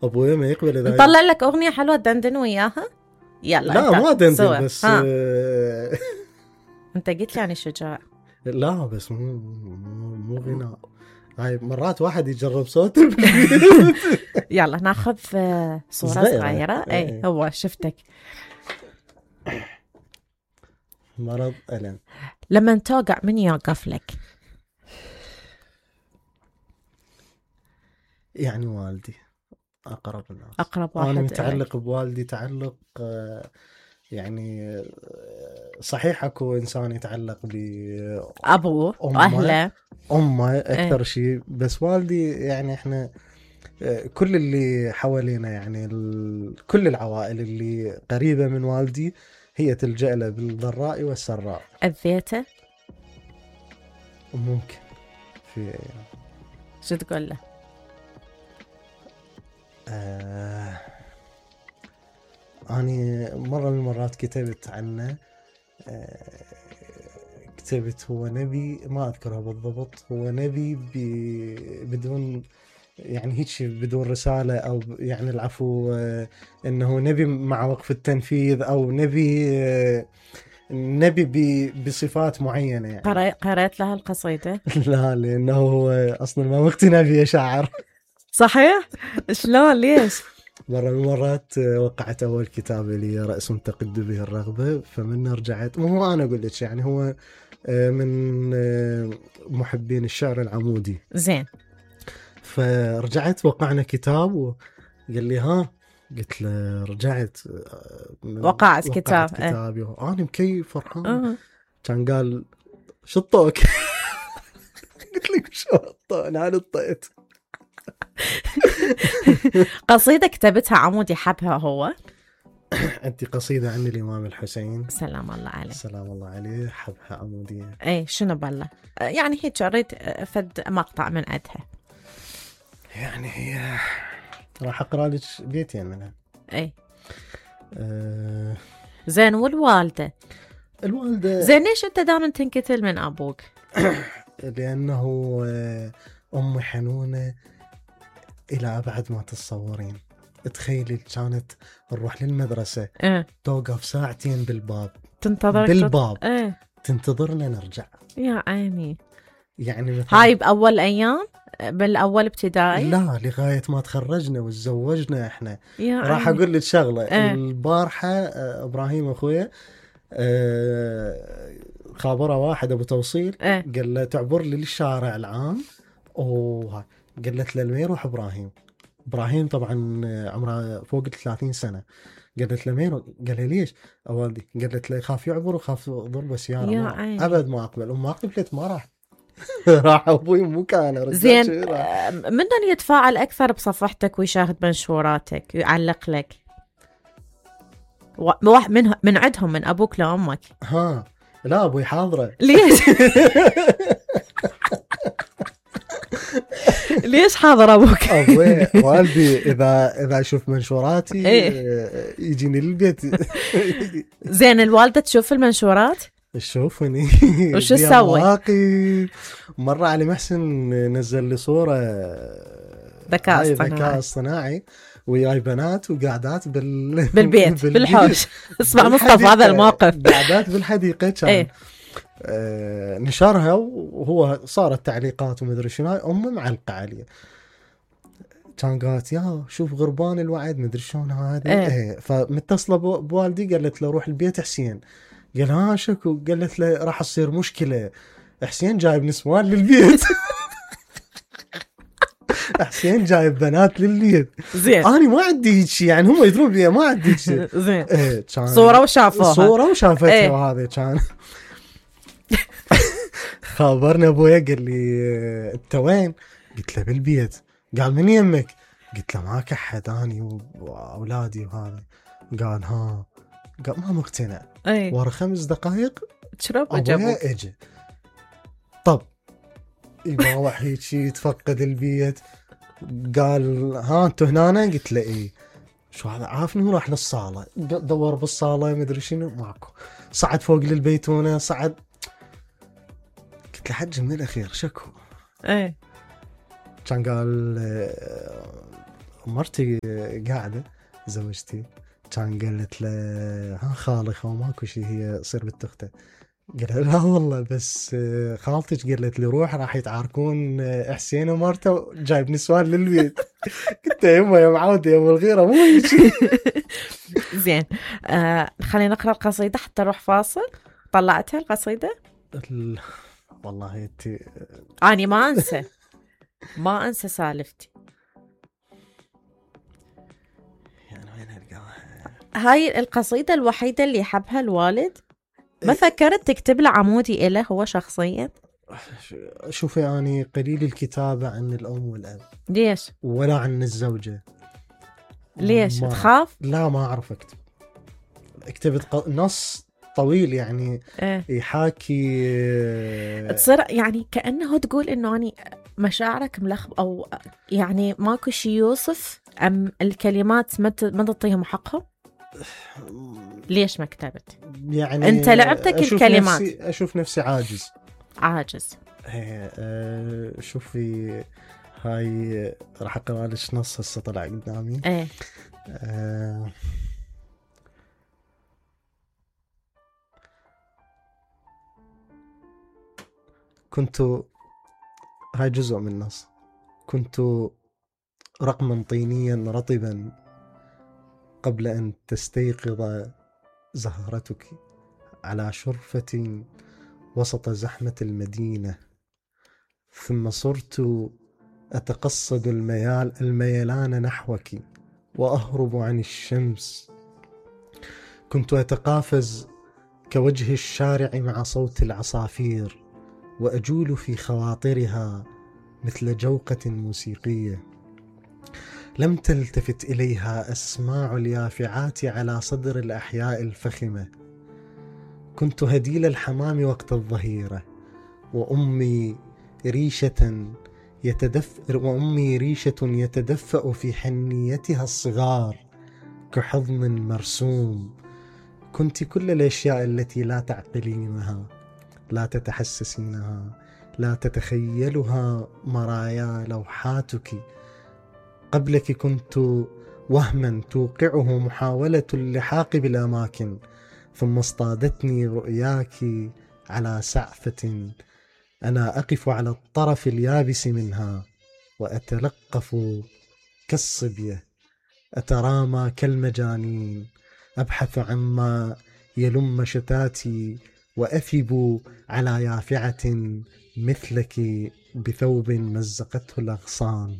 ابويا ما يقبل اذا نطلع لك اغنيه حلوه تدندن وياها. يلا لا ما دندن بس انت قلت لي يعني شجاع. لا بس مو غناء. هاي مرات واحد يجرب صوت يلا ناخذ صورة صغيرة. اي هو شفتك مرض ألم. لما توقع من يوقف لك؟ يعني والدي أقرب الناس، أقرب واحد. أنا متعلق بوالدي تعلق يعني صحيح أكو إنسان يتعلق بأبوه وأهله أمه أكثر شيء، بس والدي يعني إحنا كل اللي حوالينا يعني كل العوائل اللي قريبة من والدي هي تلجأ له بالضراء والسراء. أذيته؟ ممكن. في شو تقول له؟ أنا مرة من المرات كتبت عنه، كتبت هو نبي، ما أذكرها بالضبط، هو نبي بدون يعني هيك بدون رسالة، أو يعني العفو إنه نبي مع وقف التنفيذ، أو نبي بصفات معينة يعني. قرأت لها القصيدة؟ لا لأنه هو أصلا ما مقتنع فيها شاعر. صحيح؟ شلون ليش؟ مرة من المرات وقعت أول كتاب لي رأس تقد به الرغبة، فمن رجعت، مو أنا أقول لك يعني هو من محبين الشعر العمودي. زين. فرجعت وقعنا كتاب وقال لي ها، قلت له رجعت وقعت كتاب. كتابي أنا مكيف فرحان. كان قال شطوك. قلت لك شو الطو، أنا نطيت. قصيدة كتبتها عمودي حبها هو؟ أنت قصيدة عن الإمام الحسين سلام الله عليه. سلام الله عليه، حبها عمودية. اي شنو بالله يعني هيك أريد فد مقطع من عندها. يعني هي راح أقرأ لك بيتين منها. اي زين. والوالدة؟ الوالدة زين ليش أنت دائما تنكتل من أبوك؟ لأنه أمي حنونة إلى أبعد ما تتصورين. تخيلي كانت نروح للمدرسة توقف ساعتين بالباب، تنتظرك بالباب تنتظرنا نرجع. يا عيني. يعني هاي بأول أيام بالأول ابتدائي؟ لا لغاية ما تخرجنا وتزوجنا إحنا. راح عيني. أقول لك شغلة. البارحة إبراهيم أخويا خابره واحد أبو توصيل قال له تعبر لي الشارع العام، قالت له لمين يروح إبراهيم طبعا عمره فوق 30 سنة. قالت له مين؟ قال لي ليش والدي؟ قالت له يخاف يعبر وخاف ضربه سيارة. أبد ما أقبل. وما قبلت ما راح. راح أبوي مو كان. زين. من يتفاعل أكثر بصفحتك ويشاهد منشوراتك ويعلق لك؟ من عندهم، من أبوك لأمك؟ لا أبوي حاضرة. ليش؟ ليش حاضر أبوك؟ أبوي والدي إذا أشوف منشوراتي يجيني للبيت. زين. الوالدة تشوف المنشورات؟ تشوفني. وش تسوي؟ مرة علي محسن نزل لي صورة ذكاء اصطناعي وياي بنات وقاعدات بالبيت بالحوش. اسمع مصطفى هذا الموقف. قاعدات بالحديقة كان نشرها، وهو صارت تعليقات ومدري شنو. أمي معلقة عليه، كان قالت يا شوف غربان الوعد مدري شلون هذا. فمتصلة بوالدي قالت له روح البيت حسين. قال شكو؟ قالت له راح تصير مشكلة، حسين جايب نسوان للبيت. حسين جايب بنات للبيت. زين. أنا ما عندي شيء يعني، هم يدرون بيها ما عندي شيء. زين. صورة وشافتها. وهذا كان. خابرنا أبويا قال لي أنت وين؟ قلت له بالبيت. قال من يمك؟ قلت له ما كحد أني وأولادي وهذا. قال قال ما مقتنع. ورا 5 دقائق أبويا اجى. طب يباوح هيك يتفقد البيت. قال أنتوا هنا؟ قلت له إيه. شو هذا؟ عافني. راح للصالة دور بالصالة مدري شنو ماكو. صعد فوق للبيتونة صعد. قلت له حج من الأخير شكو؟ كان قال مرتي قاعدة زوجتي كان قالت له ها خالي خو ماكو شي، هي صير بنت اخته. قال لا والله بس خالتك قالت لي روح راح يتعاركون حسين ومرته جايب نسوان للبيت. قلت يما يا معودة يا ابو الغيرة مو هيك. زين خلينا نقرأ القصيدة حتى نروح فاصل. طلعتها القصيدة؟ والله انت أنا ما أنسى سالفتي. يعني وين القاها؟ هاي القصيدة الوحيدة اللي يحبها الوالد؟ ما فكرت تكتب له عمودي إله هو شخصيا؟ شوفي أنا قليل الكتابة عن الأم والأب. ليش؟ ولا عن الزوجة. ليش؟ تخاف؟ لا ما أعرف أكتب. كتبت نص طويل يعني يحاكي تصير يعني كأنه تقول إنه أنا مشاعرك ملخبط، أو يعني ماكو شي يوصف، أم الكلمات ما تعطيهم حقهم؟ ليش ما كتبت؟ يعني أنت لعبتك الكلمات. أشوف نفسي عاجز. شوفي هاي راح أقرأ لك نص هسه طلع قدامي. كنت، هاي جزء من النص، كنت رقما طينيا رطبا قبل أن تستيقظ زهرتك على شرفة وسط زحمة المدينة، ثم صرت أتقصد الميلان نحوك وأهرب عن الشمس. كنت أتقافز كوجه الشارع مع صوت العصافير وأجول في خواطرها مثل جوقة موسيقية. لم تلتفت إليها أسماع اليافعات على صدر الأحياء الفخمة. كنت هديل الحمام وقت الظهيرة، وأمي ريشة يتدفأ في حنيتها الصغار كحضن مرسوم. كنت كل الأشياء التي لا تعقلينها، لا تتحسسينها، لا تتخيلها مرايا لوحاتك. قبلك كنت وهما توقعه محاولة اللحاق بالأماكن، ثم اصطادتني رؤياك على سعفة أنا أقف على الطرف اليابس منها وأتلقف كالصبية، أترامى كالمجانين، أبحث عما يلم شتاتي وأثب على يافعة مثلك بثوب مزقته الأغصان.